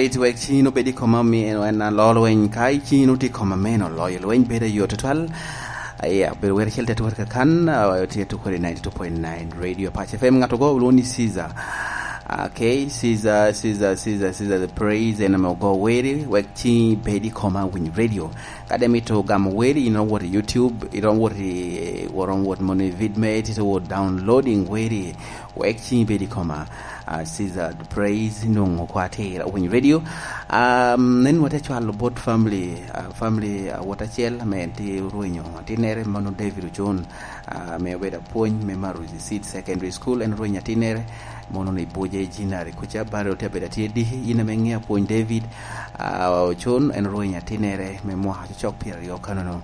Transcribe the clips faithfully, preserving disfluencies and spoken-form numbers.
It wek cin obed i koma mi en en alo lweny. Ka i cin otye i koma meno, loyo lweny bedo ayot tutwal. Aya, bedo wer acel te twere kakan, ah, tye tukere ninety-two point nine Radio Pac F M. Ngat ogo olwongo ni Caesar. Ah, okay, Caesar, Caesar, Caesar, Caesar the Praise, en ame ogo weri, wek cin bed i koma winy radio. Ka de mito gamo weri, ino wot i YouTube, ino wot i, wot, wot moni Vidmate, ito wot downloading weri, wek cin bed i koma. Ah, Caesar the Praise, nongo kwa tira winy radio. Um, nen wate cwalo bot family, ah, family, ah, wot acel, ame en tye orwenyo, atinere mano David Ochon, ah, ame obedo apwony me Maruzi Seed Secondary School, en orwenyo atinere, mono ni buje jinari kuca, bare ote abedo atye diki, in ame ŋe apwony David, ah, Ochon, en orwenyo atinere me mwaka cocok pyeraryo kanono.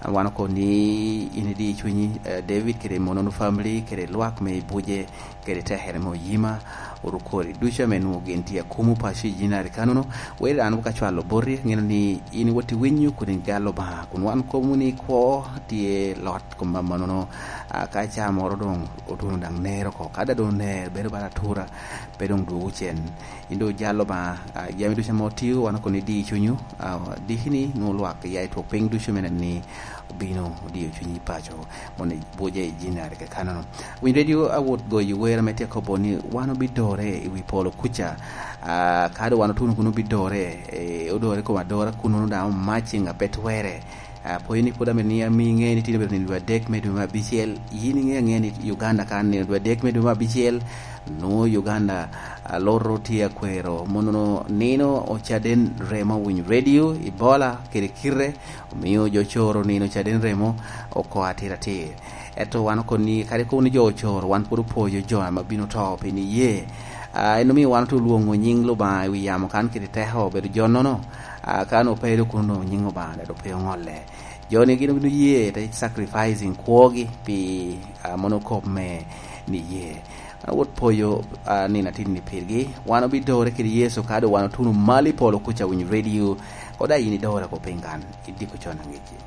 Ah, wan oko ni in idi cunyi, eh, David, kede mono family, kede lwak me buje, kede tekere me oyima, orukori ducu ame nwoŋo gin tye akumo paco i jinari kanono. Weri an ka cwalo boti, ŋeno ni in wot iwinyo kun igalo Obaŋa, kun wan komo ni kwo tye lot kom amannono. Ah, ka ca moro doŋ otuno daŋ ner oko, ka da doŋ ner bedo bala atura, pe doŋ dwogo cen. In doŋ ojalo Obaŋa, ah, jami ducu ame otio, wan okono idi cunyu, ah, diki ni nwoŋo lwak ya i twok piny ducu me neno ni obino odio cunyi paco, mono buje i jinari kakanono. Winy radio awot goyo wer ame tye kobo ni wan obidore i wi polo kuca. Ah, ka doŋ wan otuno kun obidore, eh, odore kom adora kun ono daŋ omac i ŋa pe twere. Ah, pwony ni pwod ame ni ami ŋe ni tino bedo nino dwe adek me dwe me abicel, yin iŋe aŋe ni Uganda kan nino dwe adek me dwe me abicel, nwoŋo Uganda, ah, loro tye akwero. Mono nino ocaden remo winy radio, Ebola, kede kite, omio jo ocoro nino caden remo oko atir atir. Ento wan okoni, kadi kono ni jo ocoro, wan pwod opwoyo jo ame bino to pi niye. Ah, en omio wan ote olwoŋo nyiŋ Lubanga i wi yamo kan kede teko obedo jo nono. Ah, kan ope do kuno nyiŋ Obaŋa dado pe oŋolle. Jo ni gin obino ye te sacrificing kwogi pi, ah, mono kop me niye. Awot poyo, ah, nino atin ni pirgi. Wan obidore kede Yecu ka do wan otuno malo i polo kuca winy radio. Koda yin idore ko piny kan, idiko con angeci.